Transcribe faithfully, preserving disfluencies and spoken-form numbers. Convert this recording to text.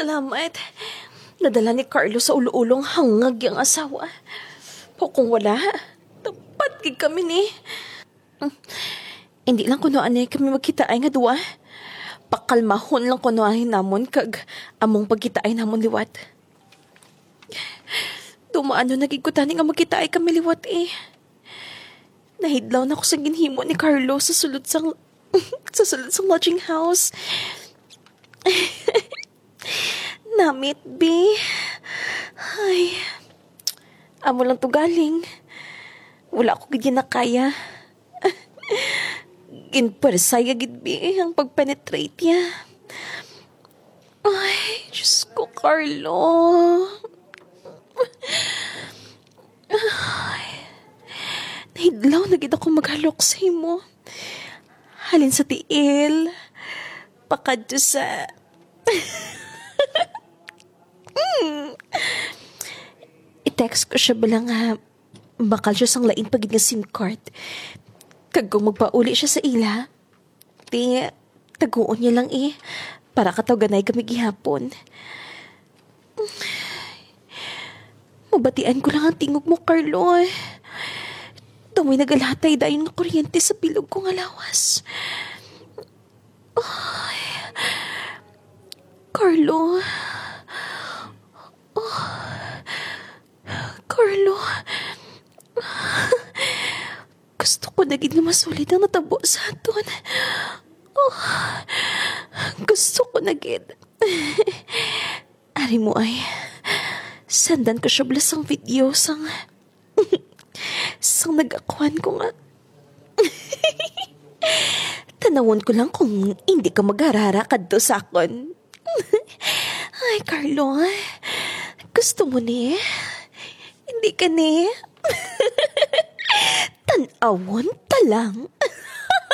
Salamat. Nadala ni Carlo sa ulo-ulo ang hangag yang asawa. Pero kung wala, tapat gid kami ni. Hindi lang kuno ani kami magkitaay nga duwa. Pakalmahon lang kuno ani namon kag among pagkitaay namon liwat. Dumaano na gid ko tani nga magkitaay kami liwat eh. Nahidlaw na ko sa ginhimo ni Carlo sa sulod sang sa sulod sang lodging house. Namit, bi. Ay. Amo lang to galing. Wala ko gid na kaya. Ginpwersaya gid, bi, ang pag-penetrate niya. Ay, Diyos ko, Carlo. Ay, nahidlaw na gid ako maghalok sa imo. Halin sa tiil, pakadto sa Mm. I-text ko siya bala nga bakal siya sang lain pa gid nga SIM card. Kag kung magpauli siya sa ila, ti, taguon niya lang eh, para katawganay kami gihapon. Mabatian ko lang ang tingog mo, Carlo, eh. Daw may nagalatay dayon nga kuryente sa bilog ko nga lawas. Ay, Carlo. Oh, Carlo. Gusto ko na gid nga masulid ang natabo sa aton. Oh, gusto ko na gid. Ari mo ay, sendan ko siya bala sang video sang, sang nagakuan ko nga. Tanawon ko lang kung hindi ka magharara kadto sa akon. Ay, Carlo, gusto mo ni? Hindi ka ni? Tanawon ta lang.